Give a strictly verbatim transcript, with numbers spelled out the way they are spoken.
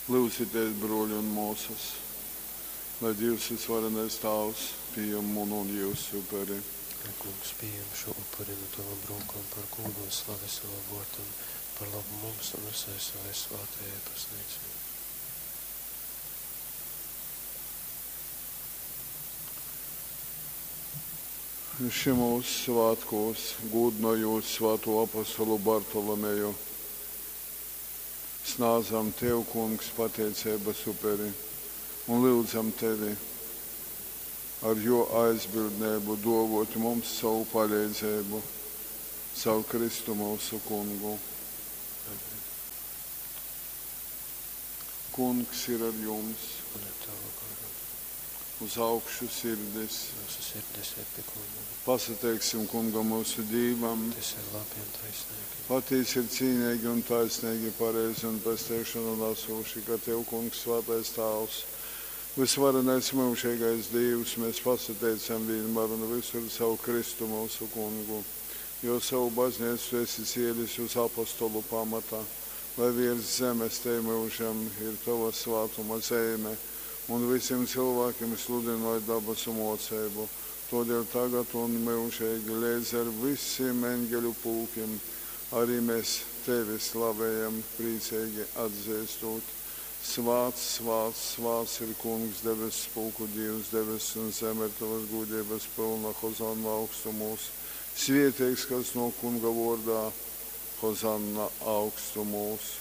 Lyudzitēs, bruoļi un muosys, lai Dīvs Vysvarenais Tāvs pījam munu un jyusu uperi. Lai Kungs pījam šo upuri nu tovom rūkom par gūdu un slavi savam vōrdam, par labu mums un visai savai svātajai baznīcai. Šymūs svātkūs, gūdynojūt svātū apostolu Bartolomeju, snādzam Tev, Kungs, pateiceibas uperi un lyudzam Tevi ar jō aizbildneibu dōvōt mums sovu paleidzeibu. Caur Kristu myusu Kungu. Amen. Kungs ir ar jums. Un ar tavu garu. Uz augšu sirdis. Mūsu sirdis ir pie Kunga. Pasateiksim Kungam myusu Dīvam. Tas ir labi un taisnīgi. Patīsi ir cīneigi un taisneigi, pareizi un pesteišonu nasoši, ka Tev, Kungs, Svātais Tāvs, vysvarenais myužeigais Dīvs, mēs pasateicam vienmēr un visur caur Kristu myusu Kungu, jo savu baznīcu Tu esi cielis uz apostolu pamata, lai virs zemes te myužam ir Tova svātuma zeime, un visiem cilvēkiem sludinoj dabasu moceibu. Todēļ tagad un myužīgi leidz ar visiem eņģeļu pulkiem arī mēs Tevi slavējam, priecīgi atzīstot. Svāts, svāts, svāts ir Kungs, debesu pulku Dievs, debesis un zeme ir Tavas gudrības pilna, Hozanna augstumos. Svētīgs, kas no Kunga vārdā, Hozanna augstumos.